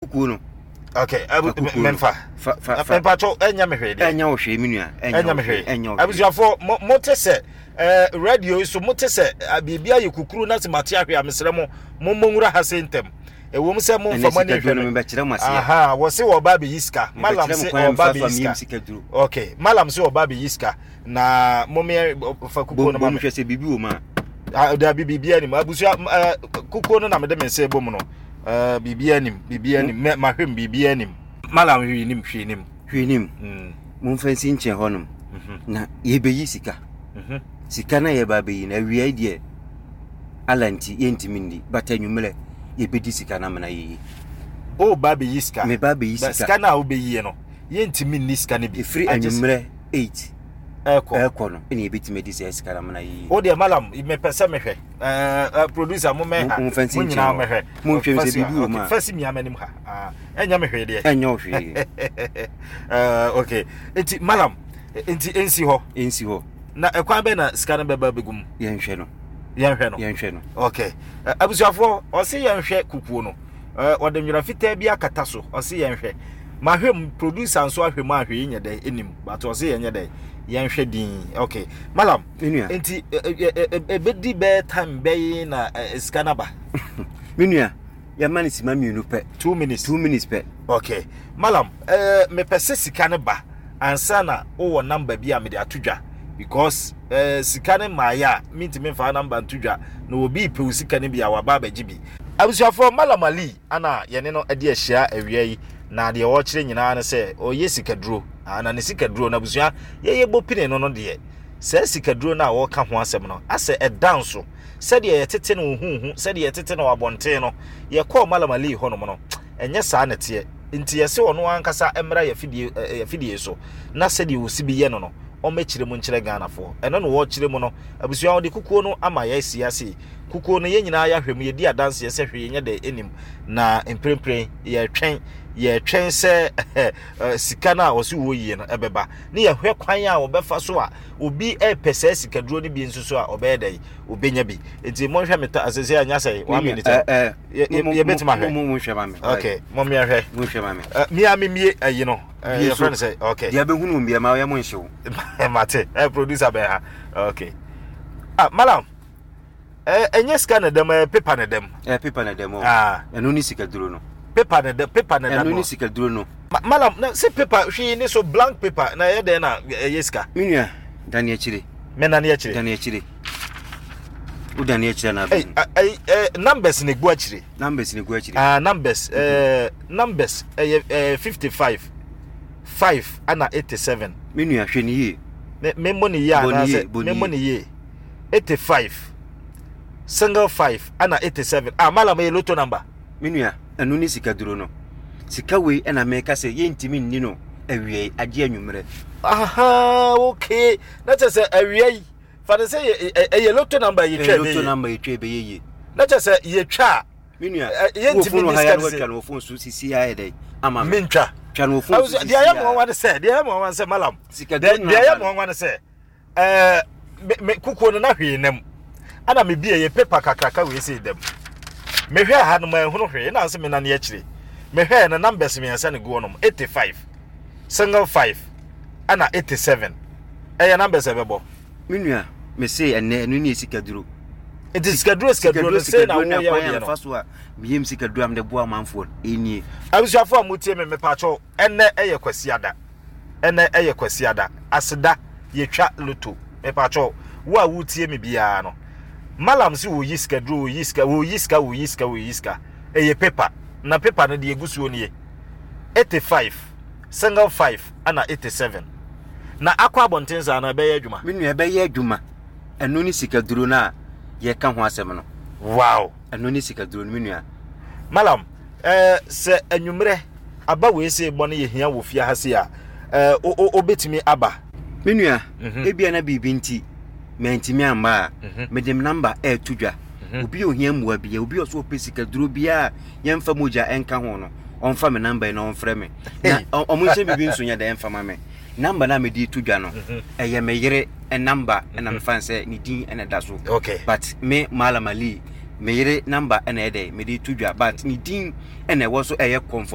Kukuo no. Okay, memfa. Fa fa fa. Mepacho ɛnyɛ me hwee deɛ. Ɛnyɛ wo hwee me nua. Ɛnyɛ me hwee. Ɛnyɛ wo hwee. Abusuafoɔ mo mo te sɛ ɛɛ radio yi so mo te sɛ biribi ayɛ kukuru na sɛ mate ahwɛ a mesrɛ mo mo mo nwura ha se ntɛm. Ɛwom sɛ mo nfa mo ani nhwɛ me. Mebɛkyerɛ mo aseɛ. Aha, wɔse wɔba abɛyi sika. Malam se ɔba abɛyi sika. Okay, malam se ɔba abɛyi sika. Na mo me fa kukuo no ma me. Bom hwɛ sɛ biribi wɔ mu a. Ah, dabi biribi anim. Abusua kukuo no na mede me nsa bɔ mu no. Eh, biribi anim, biribi anim. Mɛ mahwɛ mu biribi anim. Malam hwee nim, hwee nim. Hwee nim. Momfa nsi nkyɛn hɔnom. Na yɛbɛyi sika. Sika na yɛba abɛyi no awia yi deɛ ala nti yɛntumi nni but anwummerɛ yɛbɛdi sika no amena yɛyi. O ba abɛyi sika. Meba abɛyi sika. Sika no a wobɛyie no yɛntumi nni sika no bi. Ɛfiri anwummerɛ 8 ɛkɔ ɛkɔ no ɛna yɛbɛtumi adi saa sika no amena yɛyi. O deɛ malam mepɛ sɛ mehwɛ. Eh, producer mo mɛ ha. Mo fancy mo nyinaa mɛhwɛ. Mo nhwɛ sɛ biribi wɔ mu a. Fɛsi mia m'anim ha. Ah, ɛnyɛ me hwee deɛ. Ɛnyɛ wo hwee. Eh, okay. Nti malam, nti ensi hɔ. Ensi hɔ. Na ɛkwan bɛn na sika no bɛba bɛgu mu? Yɛnhwɛ no. Yɛnhwɛ no. Yɛnhwɛ no. Okay. Abusuafoɔ, ɔse yɛnhwɛ kukuo no. Ɔde nwera fitaa bi akata so. Ɔse yɛnhwɛ. Mahwɛ mu, producer nso ahwɛ mu ahwɛ yɛnyɛ dɛ enim. But ɔse yɛnyɛ dɛ. Yɛnhwɛ din. Okay. Malam, Me nua. Nti ɛbɛdi bɛyɛ time bɛyi na sika no aba. Me nua, yɛma no sima mmienu pɛ. 2 minutes. 2 minutes pɛ. Okay. Malam, mepɛ sɛ sika no ba ansa na wowɔ number bi a mede ato dwa because sika no mmaeɛ a mentumi mfa number nto dwa na obi pɛ wo sika no bi a waba abɛgye bi. Abusuafoɔ, Malam Ali ana yɛne no adi ahyia awia yi na deɛ ɔrekyerɛ nyinaa ne sɛ ɔyɛ sikaduro. Na ne sikaduro no abusua yɛyɛ bɔ pini no no deɛ saa sikaduro no a wɔreka ho asɛm no, asɛ ɛda nso sɛdeɛ yɛtete no huhu, sɛdeɛ yɛtete no abɔnten no, yɛkɔɔ Malam Ali hɔnom no, ɛnyɛ saa na ɛteɛ. Nti yɛse ɔno ankasa mmra yɛafidie so na sɛdeɛ ɔsi bi yɛ no no, ɔmmɛkyerɛ mu nkyerɛ Ghanafoɔ. Ɛno na wɔrekyerɛ mu no, abusua wɔde kukuo no ama yɛasi ase. Kukuo no yɛn nyinaa yɛahwɛ mu, yɛdi adanseɛ sɛ hwee nyɛ dɛ ɛnim. Na mprempren yɛretwɛn, yɛretwɛn sɛ sika no a ɔse wɔyie no ɛbɛba. Ne yɛhwɛ kwan a wɔbɛfa so a obi repɛ saa sikaduro no bi nso so a ɔbɛyɛ dɛ obɛnya bi. Nti monhwɛ me ta asese anya sɛ 1 minute yɛbɛtumi ahwɛ. Monhwɛ ma me. Okay, mommyɛhwɛ. Monhwɛ ma me. Mia memie ayi no. Yɛfrɛ no sɛ okay. Deɛ bɛhunu mu biara ma ɔyɛ mo nhyew. Mate. Producer bɛn ha. Okay. Ah, malam. Ɛnyɛ sika na dɛm, ɛyɛ paper na dɛm. Ɛyɛ paper na dɛm o. Ah. Ɛno ne sikaduro no. Paper na dɛm, paper na dɛm. Ɛno ne sikaduro no. Malam, na se paper hwee ne so blank paper na ɛyɛ dɛn na ɛyɛ sika? Me nua, dane akyire. Me nane akyire. Dane akyire. Wo dane akyire na abɛn. Ɛy, ɛy, numbers na egu akyire. Numbers na egu akyire. Ah, numbers, numbers ɛyɛ 55, 5 ana 87. Me nua, hwɛ ne yie. Me me mmɔ ne yie anaasɛ me mmɔ ne yie. 85, single 5 ana 87. Ah, malam ɛyɛ lotto number. Me nua, ɛno ne sikaduro no. Sika wei ɛna meka sɛ yɛntumi nni no awiei agye anwummerɛ. Aha, okay. Na kyerɛ sɛ awia yi, fa no sɛ ɛyɛ lotto number yɛtwa ɛbɛyɛ. Lotto number yɛtwa ɛbɛyɛ yie. Na kyerɛ sɛ yɛtwa a, Me nua, yɛntumi nni sika no sɛ. Watwa no wɔ phone so sisi ayɛ dɛ ama me. Mentwa. Twa no wɔ phone so sisi. Deɛ ɛyɛ mmoawa ne sɛ, deɛ ɛyɛ mmoawa ne sɛ malam. Sikaduro Deɛ ɛyɛ mmoawa ne sɛ, ɛɛ me me kukuo no na hwee nam. Ana me bie yɛ paper kakraka wei sei dam. Mehwɛ ha no manhunu hwee na nse me nane akyire. Mehwɛ no numbers mmiɛnsa na gu hɔnom 85, single 5 ɛna 87. Ɛyɛ numbers ɛbɛbɔ. Me nua, me se ɛnɛ ɛno ne sikaduro. Nti sikaduro sikaduro no sei na woyɛ wo deɛ no. Fa so a meyam sikaduro a mede boa amanfoɔ ɛnie. Abusuafoɔ a motie me mepaakyɛw ɛnɛ ɛyɛ Kwasiada. Ɛnɛ ɛyɛ Kwasiada. Aseda yɛtwa loto. Mepaakyɛw wo a wotie me biara no. Malam se wɔyi sikaduro wɔyi sika wɔyi sika wɔyi sika wɔyi sika. Ɛyɛ paper na paper no deɛ egu soɔ nie. 85 single 5 ɛna 87. Na akɔ abɔnten saa no ɛbɛyɛ adwuma. Me nua ɛbɛyɛ adwuma. Ɛno ne sikaduro no a yɛka ho asɛm no. Wow. Ɛno ne sikaduro no me nua. Malam, eh, sɛ anwummerɛ aba wei sei bɔ no yɛhia wɔ fie ha sei a, eh, wobɛtumi aba? Me nua, ebia na biribi nti mantumi amma a, mede me namba ɛreto dwa. Obi a ohia mmoa biara, obi a ɔso ɔpɛ sikaduro biara a yɛmfa mogya ɛnka ho no, ɔmfa me namba yi na ɔmfrɛ me. Na ɔmo nhyɛ biribi nso nyɛ dɛ ɛmfa ma me. Namba no a mede to dwa no, ɛyɛ me yere namba ɛna mefa no sɛ ne din ɛna ɛda so. Okay. But me Malam Ali Me yere number ɛna ɛyɛ dɛ mede to dwa, but ne din ɛna ɛwɔ so, ɛyɛ Comfort.